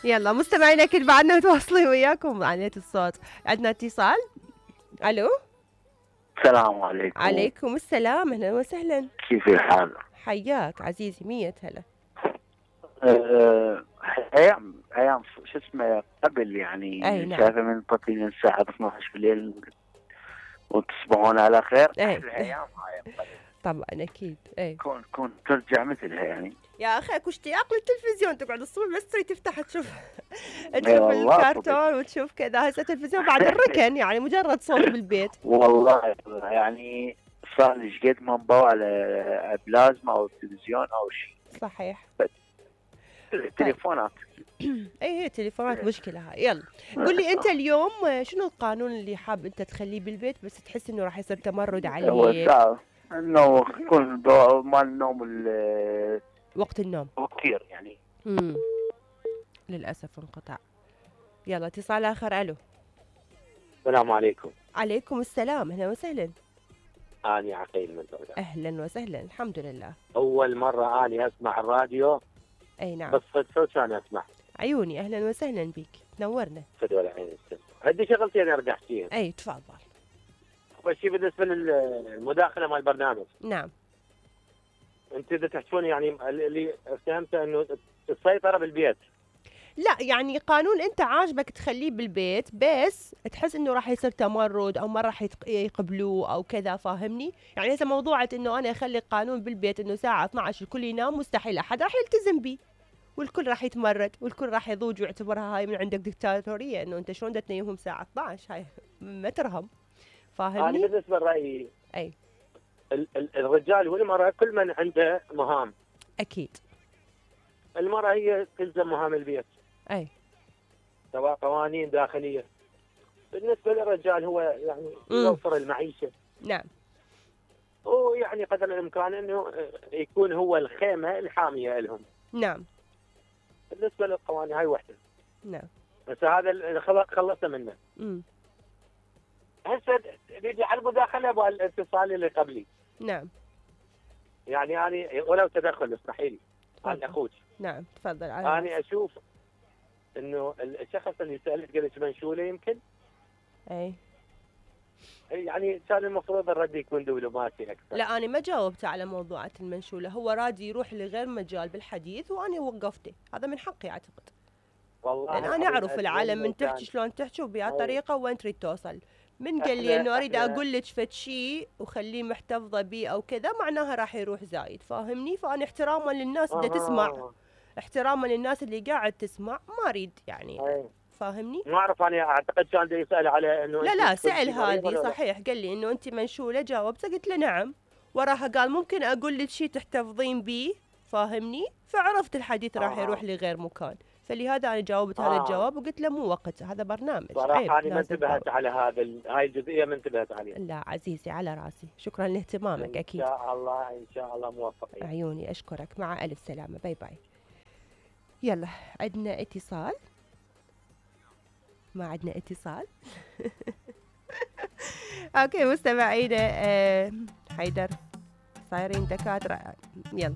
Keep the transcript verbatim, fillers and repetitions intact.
يلا مستمعينا اكيد بعدنا متواصلين وياكم عن الصوت. عندنا اتصال. الو. السلام عليكم. عليكم السلام، اهلا وسهلا. كيف الحال؟ حياك عزيزي، مية هلا. أه ايام ايام شو اسمه قبل يعني. اي نعم. شايفه من تطلعين الساعه اثنعش بالليل وتصبحون على خير. اي الايام هاي طبعا اكيد. اي كون كون ترجع مثلها يعني. يا اخي اكو اشتياق للتلفزيون، تقعد الصبح بس تريد تفتح تشوف اي تشوف والله الكرتون وتشوف كذا. هسه التلفزيون بعد الركن يعني مجرد صوت بالبيت. والله يعني صار لي شقد ما نبوا على بلازما او تلفزيون او شيء. صحيح. التليفونات. اي هي التليفونات مشكله هاي. يلا قول لي انت اليوم شنو القانون اللي حاب انت تخليه بالبيت بس تحس انه راح يصير تمرد عليك؟ هو صعب انه يكون مال النوم وقت النوم كثير يعني. امم للاسف انقطع. يلا اتصال اخر. الو. السلام عليكم. عليكم السلام، اهلا وسهلا. اني عقيل من بغداد. اهلا وسهلا، الحمد لله. اول مره اني اسمع الراديو. اي نعم. بس صدفه كان اسمع. عيوني، اهلا وسهلا بك، تنورنا. فدوى العين السن. عندي شغلتين ارجع فيهم. اي تفضل. اول شيء بالنسبه للمداخله مال البرنامج. نعم. انت اذا تحكون يعني اللي فهمته انه السيطره بالبيت. لا يعني قانون انت عاجبك تخليه بالبيت بس تحس انه راح يصير تمرد او ما راح يقبلوه او كذا، فاهمني؟ يعني اذا موضوعة انه انا اخلي قانون بالبيت انه الساعة اثنعش الكل ينام، مستحيل احد راح يلتزم به والكل راح يتمرد والكل راح يضوج ويعتبرها هاي من عندك دكتاتورية، انه انت شلون تنيمهم الساعة اثنعش، هاي ما ترهم، فاهمني؟ انا بالنسبه لرايي اي ال ال الرجال والمراه كل من عنده مهام. اكيد. المراه هي تلزم مهام البيت. اي سواء قوانين داخليه. بالنسبه للرجال هو يعني يوفر المعيشه. نعم. ويعني قدر الامكان انه يكون هو الخيمه الحاميه لهم. نعم. بالنسبه للقوانين هاي وحده. نعم. بس هذا اللي خلصنا منه. امم هسه نيجي على المداخله والاتصال اللي قبلي. نعم. يعني يعني ولو تدخل اسمحي لي عن اخوك. نعم تفضل. انا اشوف انه الشخص اللي سالت قبل منشوله يمكن. اي يعني كان المفروض الرد يكون دبلوماسي اكثر. لا انا ما جاوبت على موضوعات المنشوله، هو رادي يروح لغير مجال بالحديث وانا وقفته، هذا من حقي اعتقد. والله لان انا اعرف العالم من تحكي شلون تحكي وبأي طريقه وين تريد توصل. من قال لي انه اريد اقول لك فد شيء وخليه محتفظه بيه او كذا معناها راح يروح زايد، فاهمني؟ فانا احتراما للناس اللي تسمع، احتراما للناس اللي قاعد تسمع، ما اريد يعني أي. فاهمني؟ ما اعرف انا اعتقد كان دا يسال على انه لا لا سأل هذه صحيح، قال لي انه انت منشوله، جاوبته قلت له نعم، وراها قال ممكن اقول لك شيء تحتفظين بيه، فاهمني؟ فعرفت الحديث راح آه. يروح لغير مكان، فلهذا انا جاوبت آه. هذا الجواب وقلت له مو وقت، هذا برنامج. صراحه انا ما انتبهت على هذا هاي الجزئيه، ما انتبهت عليها. لا عزيزي على راسي، شكرا لاهتمامك. اكيد ان شاء الله ان شاء الله موفقين. عيوني اشكرك، مع الف سلامه، باي باي. يلا عندنا اتصال. ما عندنا اتصال. اوكي مستمعينا، آه حيدر صايرين دكاتره. يلا